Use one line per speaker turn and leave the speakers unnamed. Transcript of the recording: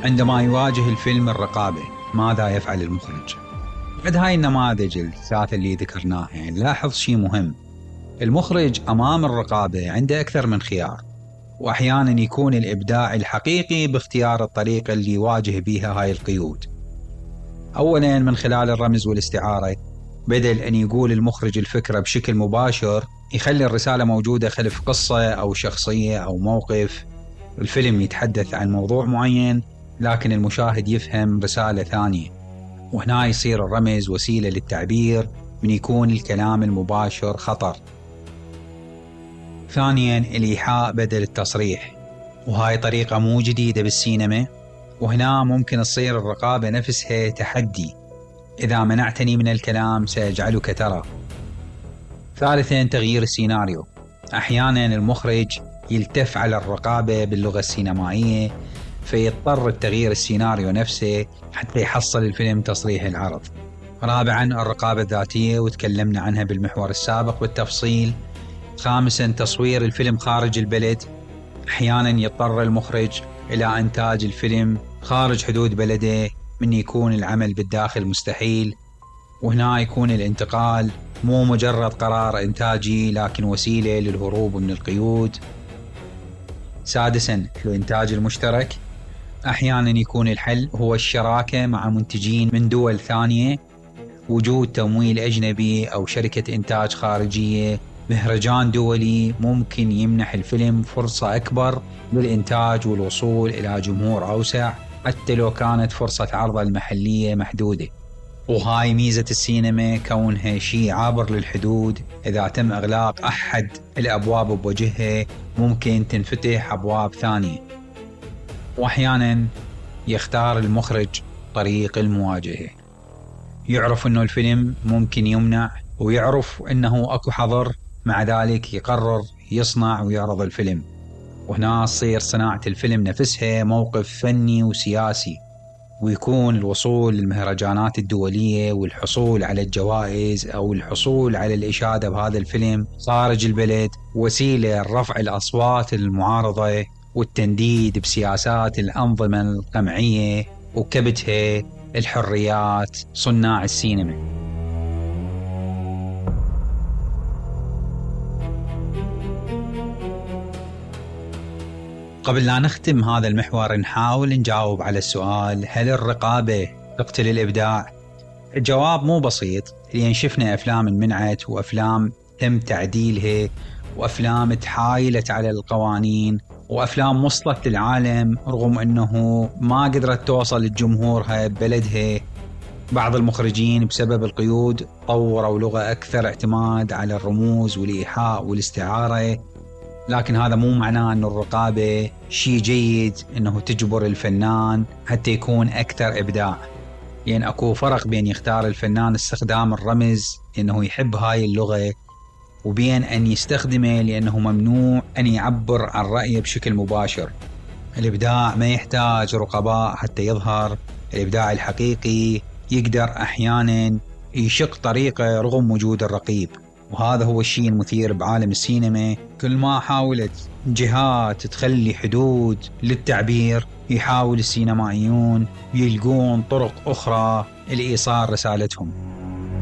عندما يواجه الفيلم الرقابة ماذا يفعل المخرج؟ بعد هاي النماذج الثلاثة اللي ذكرناها نلاحظ شيء مهم. المخرج أمام الرقابة عنده أكثر من خيار، وأحيانا يكون الإبداع الحقيقي باختيار الطريقة اللي يواجه بيها هاي القيود. أولا من خلال الرمز والاستعارة، بدل أن يقول المخرج الفكرة بشكل مباشر يخلي الرسالة موجودة خلف قصة أو شخصية أو موقف. الفيلم يتحدث عن موضوع معين لكن المشاهد يفهم رسالة ثانية، وهنا يصير الرمز وسيلة للتعبير من يكون الكلام المباشر خطر. ثانيا الإيحاء بدل التصريح، وهاي طريقة مو جديدة بالسينما، وهنا ممكن تصير الرقابة نفسها تحدي: إذا منعتني من الكلام سأجعلك ترى. ثالثا تغيير السيناريو، أحيانا المخرج يلتف على الرقابة باللغة السينمائية فيضطر التغيير السيناريو نفسه حتى يحصل الفيلم تصريح العرض. رابعا الرقابة الذاتية، وتكلمنا عنها بالمحور السابق بالتفصيل. خامسا تصوير الفيلم خارج البلد، أحيانا يضطر المخرج إلى إنتاج الفيلم خارج حدود بلده من يكون العمل بالداخل مستحيل، وهنا يكون الانتقال مو مجرد قرار إنتاجي لكن وسيلة للهروب من القيود. سادسا الإنتاج المشترك، أحيانا يكون الحل هو الشراكة مع منتجين من دول ثانية، وجود تمويل أجنبي أو شركة إنتاج خارجية. مهرجان دولي ممكن يمنح الفيلم فرصة أكبر للإنتاج والوصول إلى جمهور أوسع حتى لو كانت فرصة عرض المحلية محدودة. وهاي ميزة السينما، كونها شيء عابر للحدود. إذا تم إغلاق أحد الأبواب بوجهها ممكن تنفتح أبواب ثانية. وأحيانا يختار المخرج طريق المواجهة، يعرف أنه الفيلم ممكن يمنع ويعرف أنه أكو حظر، مع ذلك يقرر يصنع ويعرض الفيلم. وهنا تصير صناعة الفيلم نفسها موقف فني وسياسي، ويكون الوصول للمهرجانات الدولية والحصول على الجوائز أو الحصول على الإشادة بهذا الفيلم خارج البلد وسيلة لرفع الأصوات المعارضة والتنديد بسياسات الأنظمة القمعية وكبتها الحريات صناع السينما. قبل لا نختم هذا المحور نحاول نجاوب على السؤال: هل الرقابة تقتل الإبداع؟ الجواب مو بسيط، لأن شفنا أفلام منعت وأفلام تم تعديلها وأفلام تحايلت على القوانين وأفلام وصلت للعالم رغم أنه ما قدرت توصل لجمهورها ببلدها. بعض المخرجين بسبب القيود طوروا لغة أكثر اعتماد على الرموز والإيحاء والاستعارة، لكن هذا مو معناه أن الرقابة شيء جيد، أنه تجبر الفنان حتى يكون أكثر إبداع. يعني أكو فرق بين يختار الفنان استخدام الرمز لأنه يحب هاي اللغة، وبين أن يستخدمه لأنه ممنوع أن يعبر عن رأيه بشكل مباشر. الإبداع ما يحتاج رقباء حتى يظهر. الإبداع الحقيقي يقدر أحيانا يشق طريقه رغم وجود الرقيب، وهذا هو الشيء المثير بعالم السينما. كل ما حاولت جهات تخلي حدود للتعبير يحاول السينمائيون يلقون طرق أخرى لإيصال رسالتهم.